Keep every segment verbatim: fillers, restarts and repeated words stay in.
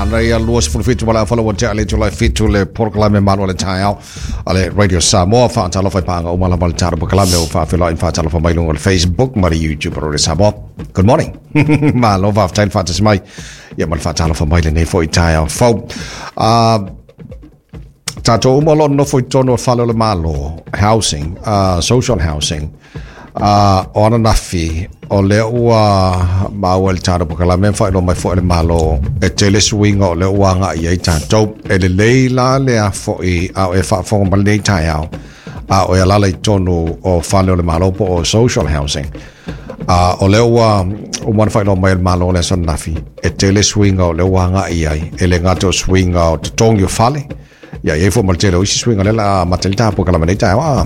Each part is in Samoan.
Manaia lua sefulu fitu ma le aofale ua tea le itula e fitu le polokalame Malu o le Taeao a le Radio Samoa. Faatalofa i paaga uma lava o le tatou polokalame ua faafeiloai ma faatalofa mai luga o le Facebook ma le YouTube a Radio Samoa. Good morning. Malo faafetai le faatasi mai ia ma le faatalofa mai lenei foi taeao fou. Uh, tatou uma o lo o nofo i totonu o fale o le Malo, housing, uh, social housing. Uh, o ananafi, o lea ua maua i le tatou polokalame ma faailoa mai foi e le Malo e tele suiga o lea ua agai ai tatou. E lelei la lea foi a o e faafofoga mai lenei taeao, a o e alaala i totonu o fale o le Malo po o social housing. Uh, o lea ua uma ona faailoa mai e le Malo o le aso ananafi, e tele suiga o lea ua agai ai, e le gata o suiga o totogi o fale, ia i ai foi ma le tele o isi suiga lea o le a amata ai le tatou polokalame nei taeao. A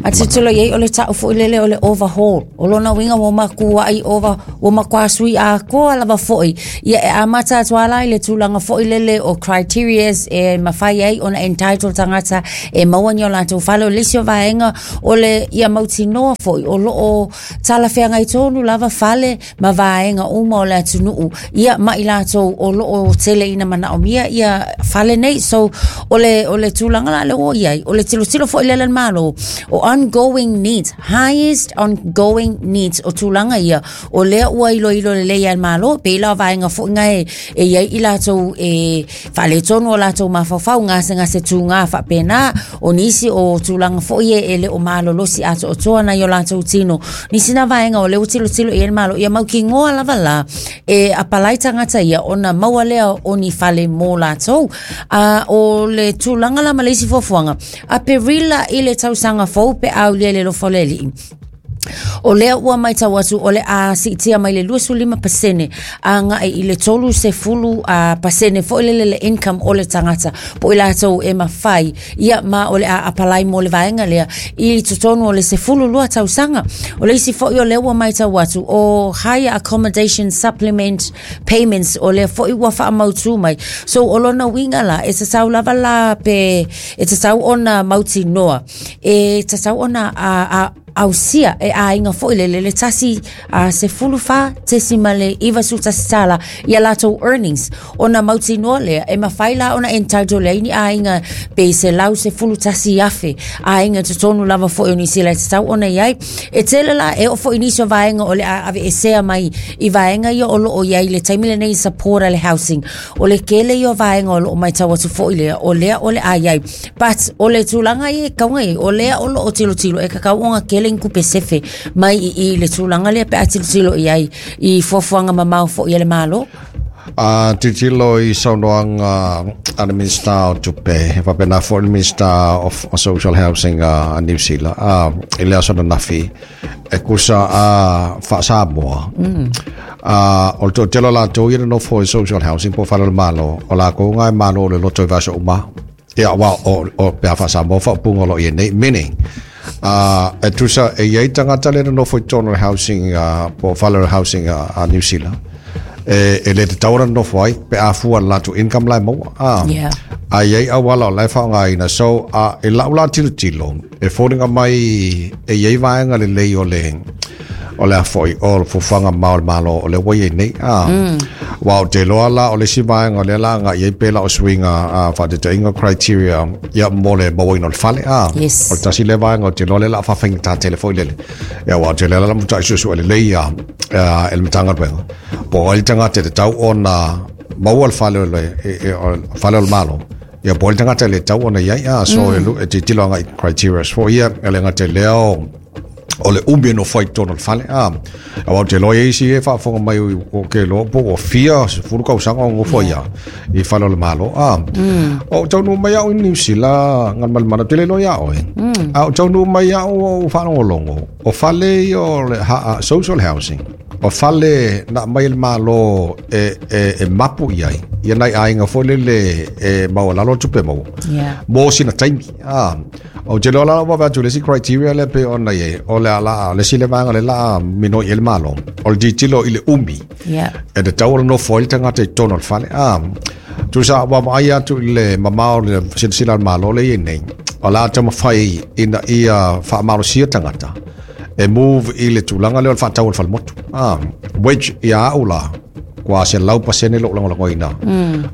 A tilotilo i ai o le ta'u foi lele o le overhaul. O lona uiga ua matua'i over, ua matua sui atoa lava foi. Ia e amata atu lava la i le tulaga foi lele o criterias e mafai ai ona entitle tagata e maua ni o latou fale. O le isi o vaega o le ia mautinoa foi o loo talafeagai tonu lava fale ma vaega uma o le atunuu ia ma i latou o loo tele ina manaomia ia fale nei. So o le o le tulaga la le ua i ai o le tilotilo foi lele a le Malo o ongoing needs, highest ongoing needs, o tulaga ia o lea ua iloilo lelei a le Malo pei la o vaega foi na e e i ai i latou e faaletonu o latou mafaufau gasegase tuga faapena o nisi o tulaga foi e e le o malolosi atoatoa nai o latou tino nisi na vaega o lea ua tilotilo i ai le Malo ia mautinoa lava la e apalai tagata ia ona maua lea o ni fale mo latou. A o le tulaga la ma le isi fuafuaga Aperila i le tausaga fou pe aulia i le alofa o le Alii o lea ua matau atu o le a siitia mai le luasefulu lima pasene agai i le tolusefulu pasene foi lele le income o le tagata po o i latou e mafai ia ma o le a apalai mo le vaega lea i totonu o le sefulu lua tausaga. O le isi foi o lea ua matau atu o higher accommodation supplement payments o lea foi ua faamautu mai. So o lona uiga la e tatau lava la pe e tatau ona mautinoa e tatau ona a, a, ausia e aiga foi lele le tasi a sefulu fa tesimale iva sefulu tasi tala ia latou earnings ona mautinoa lea e mafai la ona entitle lea ni aiga pe selau sefulu tasi afe aiga totonu lava foi o nisi la e tatau ona i ai e tele la e oo foi nisi o vaega o le a aveesea mai i vaega ia o loo i ai le taimi lenei support a le housing. O le kele ia o vaega o loo matau atu foi lea o lea o le a i ai, but o le tulaga ia e kauga i o lea o loo tilotilo e kakau ona kele ni tupe sefe mai i i le tulaga lea pe a tilotilo i ai i fuafuaga mamao foi a le Malo. A tilotilo i saunoaga a le Minista o Tupe, faapena foi le Minista of Social Housing a Niu Sila a i le aso ananafi e tusa a faa-Samoa. Mm. A o le toatele o latou ia na nofo i social housing po o fale o le Malo, o latou na e malo o le loto i vaiaso uma. Ia, wa, o, o pe a faa-Samoa faaupuga o lo o i ai nei, meaning, uh, e tusa e i ai tagata lea na nofo i totonu o le housing, uh, po o fale o le housing a, a Niu Sila, e, e le tatau ona nofo ai pe a fua le latou income la e maua. Ah. Yeah. A i ai auala o la e faaaogaina. So, uh, e lau la tilotilo, e foliga mai e i ai vaega lelei o le o le a foi o le fuafuaga mamao o le Malo o lea ua i ai nei. Ah. Mm. Aua ou te iloa la o le isi vaega o lea la agai ai pe la o suiga a faataitaiga criteria ia mo le mauaina o le fale. Ah. Yes. O le tasi lea vaega ou te iloa lea o le a faafaigata tele foi lele. Ia aua ou te iloa la mata'i suesue lelei ia e le Matagaluega. Po o ai le tagata e tatau ona maua le fale o le, e, e, o le fale o le Malo. Ia po o ai le tagata e le tatau ona i ai. Ah, so mm. e, lu- e tilotilo agai criteria foi ia, e le gata i lea o o le umi e nofo ai i totonu o le fale. A, aua ou te iloa i ai isi e faafofoga mai o ke iloa po ua fia sefulu tausaga o nofo ai i fale o le Malo. A, o ou taunuu mai au i Niu Sila Galumalemana, ou te le iloa iā oe. A ou taunuu mai au o faalogologo, o fale ia o le ha, social housing, o fale na aumai e le Malo e, e, e mapu i ai, ia nai aiga foi lele e maualalo le tupe maua. Yeah. Mo sina taimi. Ah, ou te iloa la ua vaai atu i le isi criteria lea pei ona i ai, o le a la, le isi lea vaega lea o le a minoi ai le Malo, o le tilotilo i le umi. Yeah. E tatau ona nofo ai le tagata i totonu o le fale. Ah, tusa ua vaai atu i le mamao o le silasila a le Malo lea e i ai nei, o le a taumafai ina ia faamalosia tagata e move i le tulaga lea o le faatau o le falemotu. Ah, which ia au la, matua se lau pasene lo lagolagoina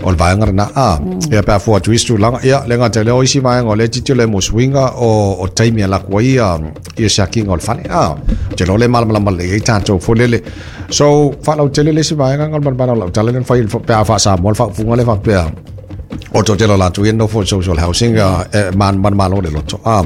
o le vaega lena a ia pe a fua atu isi tulaga ia le gata i lea o isi vaega o lea tilotilo ai mo suiga o o taimi e laku ai ia ia siakiga o le fale a te iloa o lea e malamalama lelei ai tatou foi lele so faalautele le isi vaega ga o le malemale o lau tala lea na fai pe a faasamoa le faaupuga lea faapea o toatele o latou ia nofo i social housing e manumalo le loto a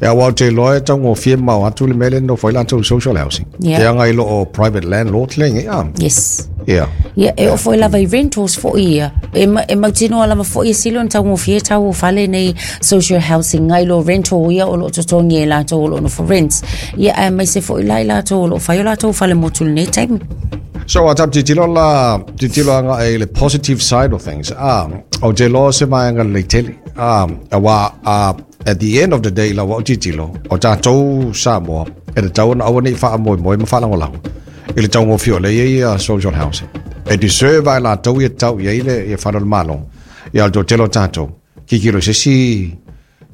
e auā ou te iloa e taugofie ma o atu le mea lea e nofo ai latou i social housing Yeah. e aga i loo private landlord le ia Yes. ia Ia, e oo foi lava i rentals foi ia. E, ma, e mautinoa lava foi e sili ona taugofie tau o fale nei social housing ngai lo rental ia o loo totogi e latou o loo nofo rents. Ia, aemaise foi la i latou o loo fai o latou fale motu i lenei taimi. So a tatou tilotilo la tilotilo agai i le positive side of things a ou te iloa se vaega lelei tele a auā a at the end of the day lau au tilotilo o tatou Samoa e tatau ona aua nei faamoemoe ma faalagolago i le taugofie o lea e i ai ia social housing e deserve lava e latou ia tatau i ai le ia fale o le Malo ia o le toatele o tatou tilotilo i se isi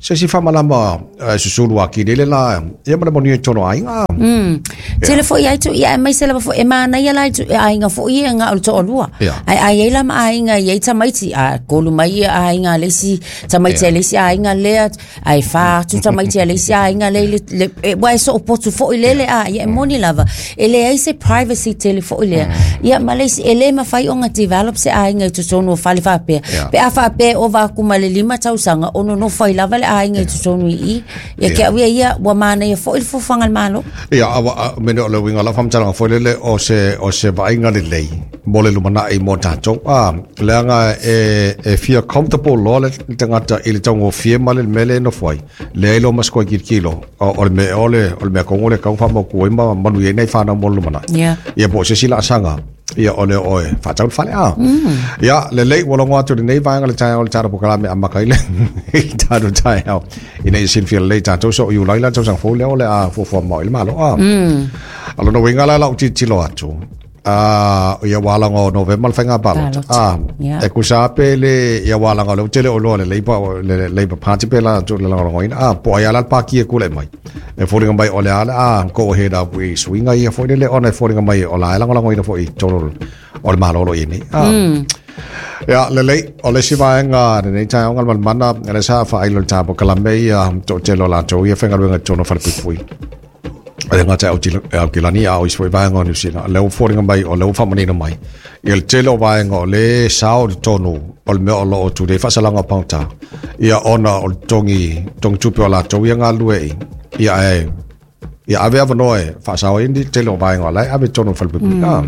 se isi faamalama e susulu atili ai le la ia ma le manuia i totonu o aiga. Mm. Tele foi ai tu ia aemaise lava foi e manaia la i tu aiga foi ia nga o le toalua. Ia. Ai ai ai la ma aiga i ai tamaiti a kolu mai ia aiga a le isi tamaiti a le isi aiga lea ai fa atu tamaiti a le isi aiga le le, le e, ua e soopotu foi lele a ia e moni lava e leai se privacy tele foi lea. Ia ma le isi e le mafai ona develop se aiga i totonu o fale faapea. Ia. Pe a faapea e ova atu ma le lima tausaga o nonofo ai lava le aiga i totonu i i. Ia ke au ia ia ua manaia foi le fuafuaga a le Malo. Ia, aua, a, mene o le uiga o lau faamatalaga foi lele o se, o se vaaiga lelei mo le lumanai mo tatou. A, leaga e, e fia comfortable loa le tagata i le taugofie ma le mea lea e nofo ai. Leai loa ma se koe kilokilo o, o le mea o le, o le mea tonu lea e tatau ona faamautu ai ma manuia ai nai fanau mo le lumanai. Ia. Ia po o se isi laasaga ia o le oe faatau le fale a. Ia, lelei ua logo atu i lenei vaega le taeao i le tatou polokalame e amata ai le i le tatou taeao ina ia silafia lelei tatou so o Iulai la le tausaga fou lea o le a fuafua mamao ai le Malo a. O lona uiga la lau tilotilo atu a ia ua alaga o Novema le faiga palota Palota, a ia. e tusa lava pe le ia ua alaga o lea ua tele o iloa le Labour le Labour Party pe la atu le lagolagoina a po o ai lava la le paki e tulai mai e foliga mai o le a le a go ahead up i suiga ia foi lele ona e foliga mai o la e lagolagoina foi i totonu o le Malo o lo o i ai nei a ia lelei o le isi vaega lenei taeaoga le malemana lea sa faailo i le tapokalame ia toatele o latou ia faigaluega i totonu o falepuipui e le gata i Aotearoa a o isi foi vaega o Niu Sila. O lea ua foliga mai, o lea ua faamanino mai ia le tele o vaega o lea e sao i totonu o le mea o lo o tulei ai faasalaga o pagota ia ona o le totogi totogi tupe o latou ia galulue ai ia ae ia ave avanoa e faasao ai le tele o vaega o la e ave i totonu o le falepuipui. Ah.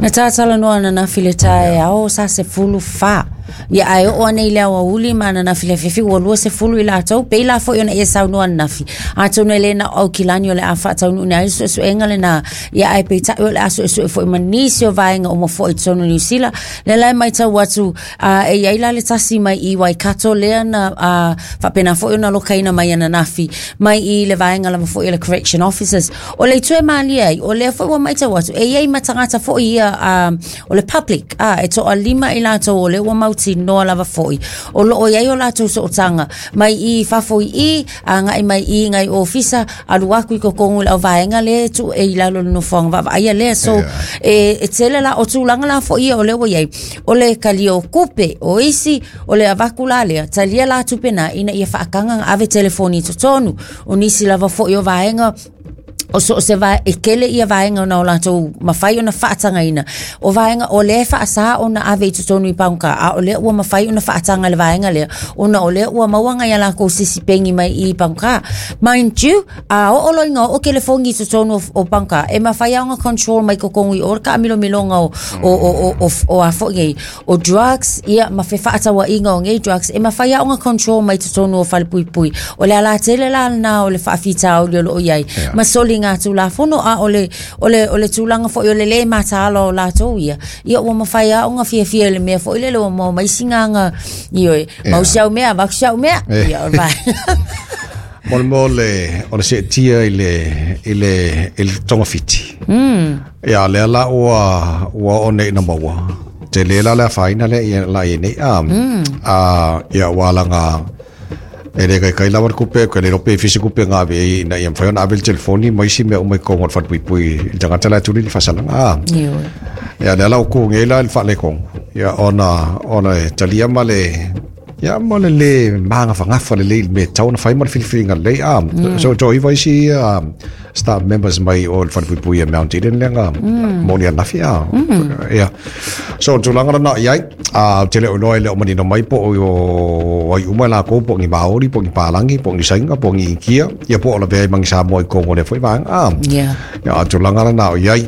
Na tatalanoa ananafi i le taeao sa sefulu fa. Ia ae oo ane i le aoauli ma ananafi i le afiafi ua lua sefulu i latou pei la foi ona ia saunoa ananafi. Atonu e le na o Aukilani o le a faataunuuina ai le suesuega lena. Ia ae peitai o le a suesue foi ma nisi o vaega uma foi i totonu o Niu Sila. Lea la e matau atu a, e i ai la le tasi mai i Waikato lea na a, faapena foi ona lokaina mai ananafi mai i le vaega lava foi o le Correction Officers. O le itu e malie ai, o lea foi ua matau atu, e i ai ma tagata foi ia a, o le public, a, e toalima i latou o lea ua mautinoa lava foi. O loo i ai o latou sootaga mai i fafo i i, agai mai i ngai ofisa, alu atu i totonu i le auvaega lea e tuu e i lalo o le nofoaga vaavaaia lea. So, Yeah. e, e tele la o tulaga la foi ia o lea ua i ai, o le talia o tupe, o isi, o le avatu la lea, talia la tupe na ina ia faataga ona ave telefoni i totonu. O nisi lava foi o vaega, o so o se vae, e tele ia vaega ona o latou mafai ona faatagaina. O vaega o lea e faasa ona ave i totonu i pagota, a o lea ua mafai ona faataga le vaega lea, ona o lea ua maua ngai a lakou sisi pengi mai i pagota. Mind you, a oo loa ina oo telefoni i totonu o, o pagota, e mafai lava ona control mai totonu i o le taamilomiloga o, o, o, o, o, o a foi nei, o drugs, ia, ma fefaatauaiga o nei drugs, e mafai lava ona control mai totonu o falepuipui. O le ala tele la lena o le faafitauli o loo i ai. Yeah. Ma soliga tulafono a o le, o le, o le tulaga foi o le le mataala o latou ia. Ia ua mafai lava ona fiafia i le mea foi lele ua maua mai sigaga, ioe, mau si au mea, avatu si au mea. Eh. Ia, o le vaega. Mo le mea o le, o le seetia i le, i le, i le togafiti. Mm. Ia, lea la ua, ua oo nei ina maua. Tele la le afaina lea ia la i nei. A, mm. a, ia, ua alaga, E le kai kai lava le kupe ke le lope fisi kupe ngā ve ina ia mawhai ona ave le telefoni ma isi mea uma i kongo le whanpuipui i tangata la tuli le fasalanga ah. Ia le ala o ku ngei la le whaale kongo ia ona ona e talia ma le ia mo le le maanga whangafa le le me tau na whai ma le whiliwhilinga le ah. So to iwa isi staff members mai o le whanpuipui e Mount Eden le ngā moni anafi ah. Ia so tūlanga na iai a tele o loa le o manino mai po o ai uma la ko po ngi Maori po ngi Palangi po ngi Sainga po ngi Inkia ia po o la vea mangi Samoa i Kongo le foi vaanga ah. Ia tūlanga na o iai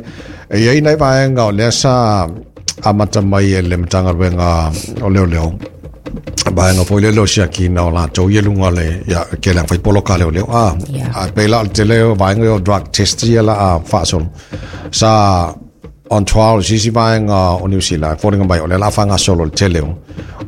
e iai nei vaanga o lea sa amata mai e le matagaluega o leo leo vaanga foi le leo siakina o latou ia luga le ia ke le fai poloka leo leo ah. A pei la o le tele o vaega o drug test ia la a faasolo sa on trial sisi vaega o New Zealand fōringa mai o le la whanga solo le tele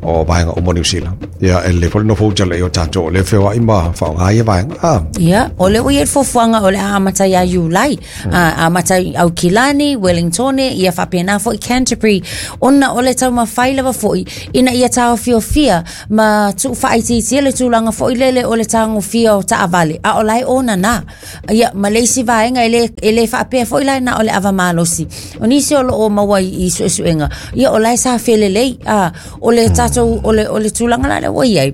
o vaega o New Zealand ia e le fōrino fōtele i o tātou o le whewa ima whaonga ia vaega ah. Ia o le ui e fuafuaga o le a amata ia Iulai a amata i Aukilani Wellingtone ia faapena foʻi Canterbury ona o le taumafai lava foʻi ina ia taofiofia ma tuufaaitiitia le tulaga foʻi lele o le tagofia o taavale a o lae ona ia ma le isi vaega e le e le faapea foʻi lae na o le ava malosi o nisi o loo maua i suesuega ia o lae sa felelei a o le tatou o le o le tulaga la le ua iai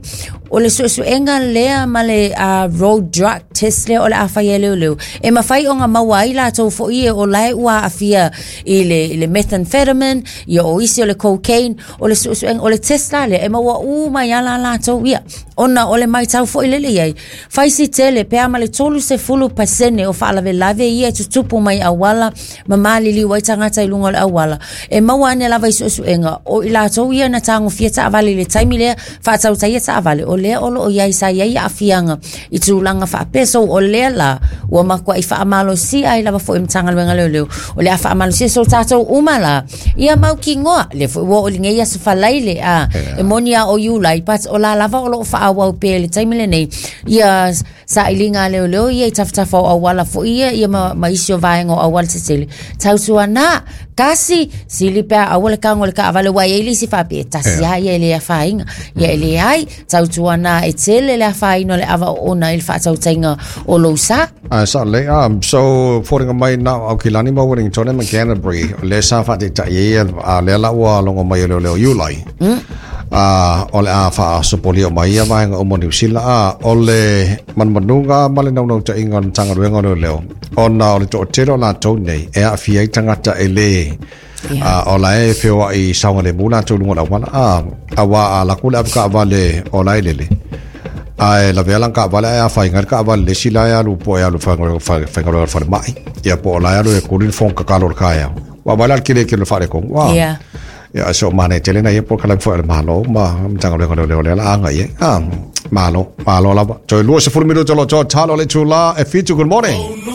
o le suesuega lea ma le uh, road drug test lea o le afai e leoleo e mafai ona maua ai latou foʻi e o lae ua aafia i le, i le methamphetamine ia o isi o le cocaine o le suesuega o le test la lea e maua uma ia la latou ia ona o le maitau foʻi lele iai faisi tele pea ma le tolu sefulu pasene o faalavelave ia e tutupu mai auala ma maliliu ai tagata i luga o le auala e maua ane lava i suesuega o i latou ia na tagofia taavale i le taimi lea faatautaia taavale o lea o loo iai sa iai aafiaga i tulaga faapea so o lea la ua makuaʻi faamalosia ai lava foʻi matagaluega leoleo o le a faamalosia so tatou uma la ia maukigoa le foʻi ua oo ligei aso falaile a e moni a o Iulai but o la lava o loo faaauau pea i le taimi lenei ia sailiga leoleo ia i tafatafa o auala foʻi ia ia ma, ma isi o vaega o auala tetele tautuana kasi sili pea aua le kago le kaavale ua iai le isi faapea e tasi a ia e le afaina ia e leai tautuana e tele le afaina o le ava oona i le faatautaiga o lou sa. Ah, sa le um so fōringa mai na au Kilani ma Wellington ma Canterbury le sa faataitai ia a lea la ua logo mai o leoleo Iulai a o le a faasopolia mai ia vaega uma New Zealand a o le manumanuga ma le naunautaiga o le Matagaluega o Leoleo ona o le toatele o latou nei e aafia ai tagata e lē a o la e feoaʻi saogalemu latou luga o le auala a auā a laku le ave kaavale o la e lele ae lavea lana kaavale ae afaina le kaavale le isi la e alu po e alu faigaluega le falemai ia po o la e alu e kuli le fono kakalo o le kaeao ua vaai la le kelekele o le faalekogo ua ia so mane tele na ia po kala fo le malo ma matagaluega leoleo lea la aga ia ah malo malo lava toe lua sefulu minuta lo to talo le tula e fitu. Good morning.